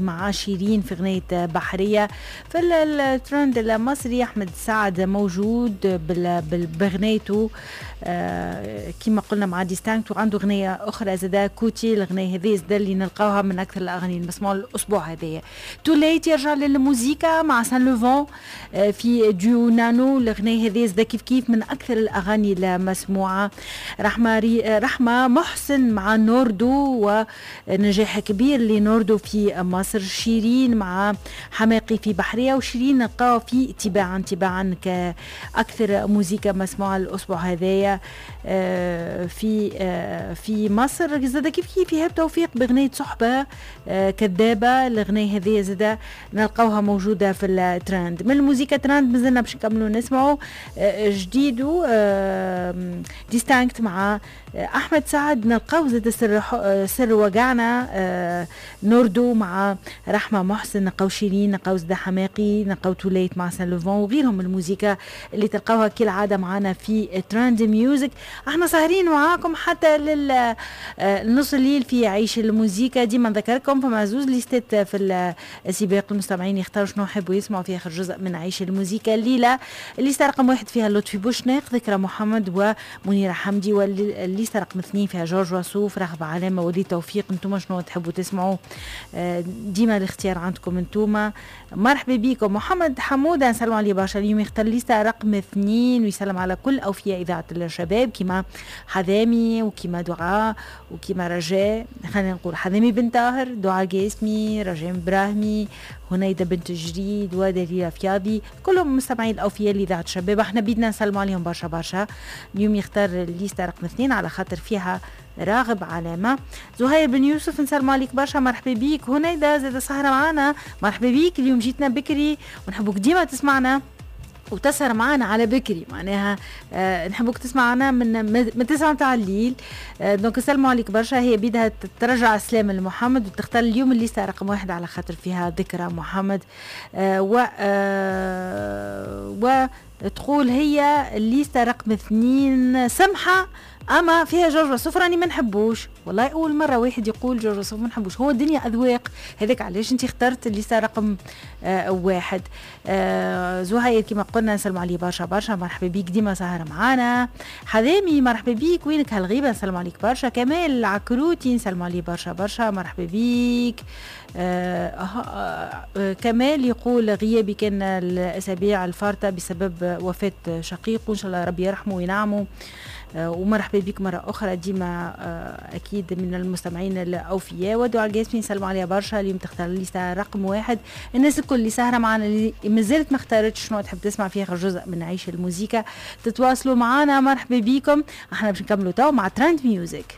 مع شيرين في غنية بحرية. في الترند المصري أحمد سعد موجود بغنيته كما قلنا مع ديستانكت، وعنده غنية أخرى زادا كوتي. الغنية هذه زادا اللي نلقاوها من أكثر الأغاني المسموعة الأسبوع هذايا. توليت يرجع للموزيكا مع سان لوفون في ديو نانو. الغنية هذه زادا كيف كيف من أكثر الأغاني المسموعة. رحمة محسن مع نوردو، ونجاح كبير لنوردو في مصر. شيرين مع حماقي في بحرية، وشيرين نلقاو في تباعا تباعا كأكثر موزيكا مسموعة الأسبوع هذايا في مصر. زاد كيف كيف إيهاب توفيق بغنية صحبة كذابة. الغنية هذه زاد نلقاوها موجودة في الترند. من الموزيكا ترند مازلنا باش نكملوا نسمعوا جديدو ديستانكت مع أحمد سعد. نلقاو زاد سر وجعنا نوردو مع رحمة محسن، نلقاو شيرين، نلقاو زدا حماقي، نلقاو توليت مع سان لوفون وغيرهم من الموزيكا اللي تلقاوها كالعادة معنا في ترند ميوزك. احنا ساهرين معاكم حتى للنص الليل في عيش الموزيكا. ديما نذكركم فما زوز ليستات في السباق، المستمعين يختاروا شنو يحبوا يسمعوا في اخر جزء من عيش الموزيكا الليلة. الليستة رقم 1 فيها لطفي بوشناق، ذكرى محمد ومنيرة حمدي، والليستة رقم 2 فيها جورج وسوف، رغبة علامة، ولي توفيق. انتم شنو تحبوا تسمعوا؟ ديما الاختيار عندكم انتوما. مرحبا بكم. محمد حمودة نسلم عليه برشا، اليوم يختار ليستا رقم 2 ويسلم على كل أوفياء إذاعة الشباب كما حذامي وكما دعاء وكما رجاء. خلينا نقول حذامي بن طاهر، دعاء قاسمي، رجاء براهمي، هنيدة بنت جريد، ودليلة فياضي، كلهم مستمعين الأوفياء لإذاعة الشباب. احنا بيدنا نسلموا عليهم برشا برشا. اليوم يختار الليستا رقم 2 على خاطر فيها راغب علامة. زهير بن يوسف نسلم عليك برشا، مرحبا بيك. هنيدة زاد سهرة معانا، مرحبا بيك. اليوم جيتنا بكري ونحبوك ديما تسمعنا وتسهر معنا على بكري، معناها نحبوك تسمعنا من 9 تاع الليل. donc نسلموا عليك برشا. هي بيدها ترجع السلام لمحمد وتختار اليوم الليستة رقم 1 على خاطر فيها ذكرى محمد. و وتقول هي الليستة رقم 2 سمحة اما فيها جورج وسوف راني ما نحبوش. والله اول مرة واحد يقول جورج وسوف ما نحبوش، هو الدنيا اذواق، هذاك علاش انت اخترت الليستة رقم 1. زهير كما قلنا نسلم عليه برشا برشا، مرحبا بيك ديما سهره معانا. حذامي مرحبا بيك، وينك هالغيبه؟ نسلم عليك برشا. كمال العكروتي نسلم عليه برشا برشا، مرحبا بيك. كمال يقول غيابي كان الاسابيع الفارطه بسبب وفاه شقيقه، ان شاء الله ربي يرحمه وينعمه. ومرحبا بك مرة أخرى ديما أكيد من المستمعين الأوفياء. ودعاء القاسمي نسلموا عليها برشا، اليوم تختار الليستة رقم 1. الناس الكل اللي سهرة معنا اللي مازالت ما اختارتش شنو تحب تسمع في آخر جزء من عيش الموزيكا تتواصلوا معنا، مرحبا بكم. احنا باش نكملوا تو مع ترند ميوزك.